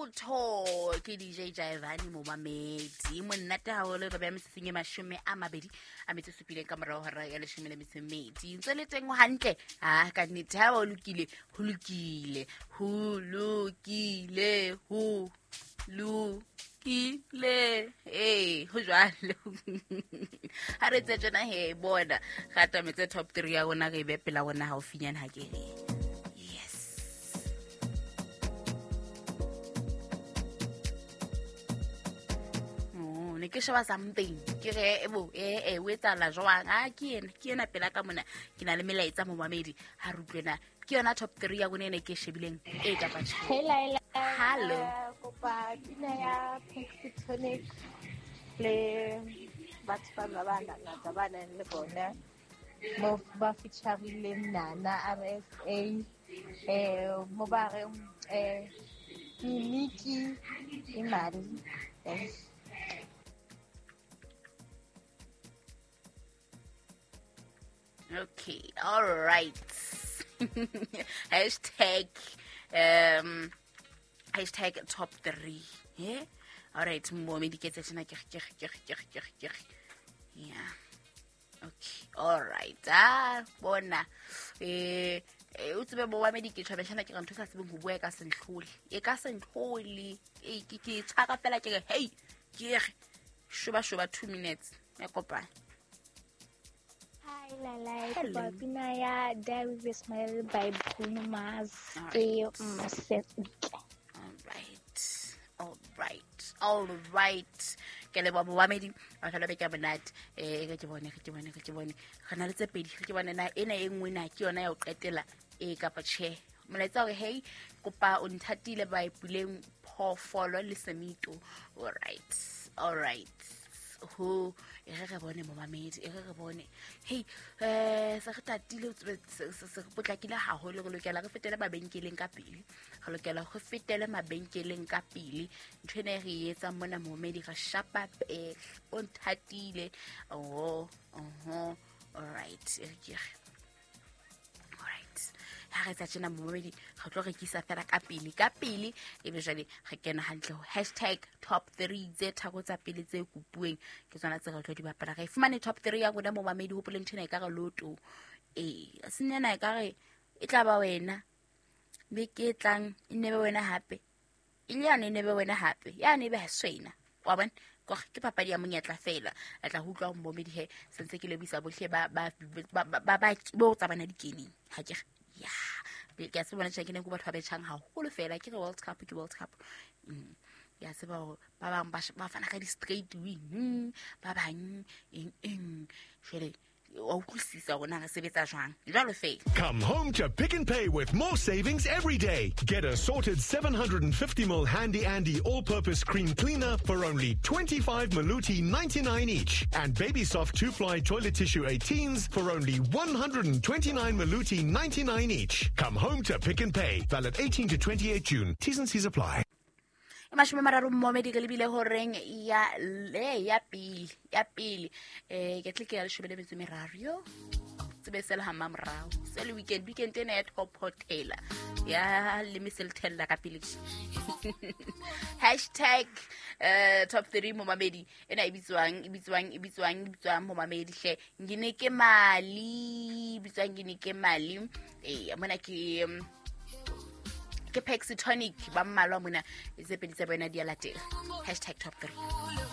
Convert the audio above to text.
Lotho ke DJ Jaivane momamedi monate haholo re beya metsotsong e 27 ka morao hora ya 12 ntse le teng hantle a ka nnete ha o lokile ho lokile ho lokile ho lokile ee ho jwalo ha re tse tjena he bona re atametse top 3 ya rona re e be pela rona haufinyane ha ke re yes. Oh, ne ke sheba something ke re ebo e o etsahala jwang a ke ena pela ka mona ke na le melaetsa momamedi ha re utlwena ke yona top 3 ya rona ene ke e shebileng e kapa tjhe. Hey Laila. Hello. Kopa pina ya Pexi Tonic le batho ba ba bangata ba nang le bona mo ba featurileng Nana RSA mo ba reng Niki imali. Thanks. Okay, all right. Hashtag hashtag top 3. Yeah. All right, mo me diketse tsena ke ke ke ke ke ke. Yeah. Okay, all right. Ah, bona. O tsebe bo wa me diketshwa beshana ke re ntho sa tsebeng ho bua e ka sentlhole. E ka sentlhole. E ke ke tshwara fela ke re hey, ke re shoba shoba 2 minutes. Ya kopana. Hi Lala, Hello. kopa pina ya Die With a Smile by Bruno Mars All ke right. Mmasentle. All right. All right. All right. Ke leboha momamedi wa fela beke ya monate. Re ke bone, re ke bone, re ke bone. Re na le tse pedi, re ke bone na ena e nngwe na ke yona ya ho qetela e kapa tjhe. Molaetsa hore hey, kopa o nthatile ba ipuleng phoofolo le semito. All right. All right. Ho e re re bone momamedi e re re bone hey se re tatile se re potlakile haholo re lokela re fetele mabenkeleng ka pele re lokela re fetele mabenkeleng ka pele ntho ena e re e etsang mona momamedi re shapa pele o nthatile oho oho all right e re ke re alright ha re etsa tjena momamedi re tlo rekisa fela ka pele ka pele ebe jwale re kena hantle ho hashtag top 3 tse tharo tsa pele tse kopuweng ke tsona tse re tlo di bapala re fumane top 3 ya rona momamedi hopole ntho ena e ka re loto ee senyana e ka re e tla ba wena beke e tlang e nne be wena hape e le yane e nne be wena hape yane e be ha se wena wa bona ke papadi ya monyetla fela a tla ho utlwa ho momedi he sentse ke lebisa bohle ba ba ba ba ba bo tsamana dikeneng ha ke ya ke a se bona tjhe ke ne go batho ba betjhang haholo fela ke re World Cup ke World Cup ke a tseba hore ba bang ba fana ka di-straight win ba bang eng eng jwale wa utlwisisa hore na re sebetsa jwang jwalo fela. Come home to Pick n Pay with more savings every day. Get a sorted 750ml Handy Andy all-purpose cream cleaner for only 25 Maluti 99 each and Baby Soft 2-ply toilet tissue 18s for only 129 Maluti 99 each. Come home to Pick n Pay. Valid 18 to 28 June. T's and C's apply. 30 momedi ke lebile horeng ya le ya pele ya pele ke tle ke ya 13 yo tsebe se le ha mamorao se le weekend weekend ena ya top hotel ya le meselthella ka pele hashtag top 3 momamedi ena e bitswang e bitswang e bitswang e bitswang momamedi hle ngine ke mali bitswang ngine ke mali mona ke ke Pexitonic ba mmalwa mona tse pedi tsa bona di a latela hashtag top 3.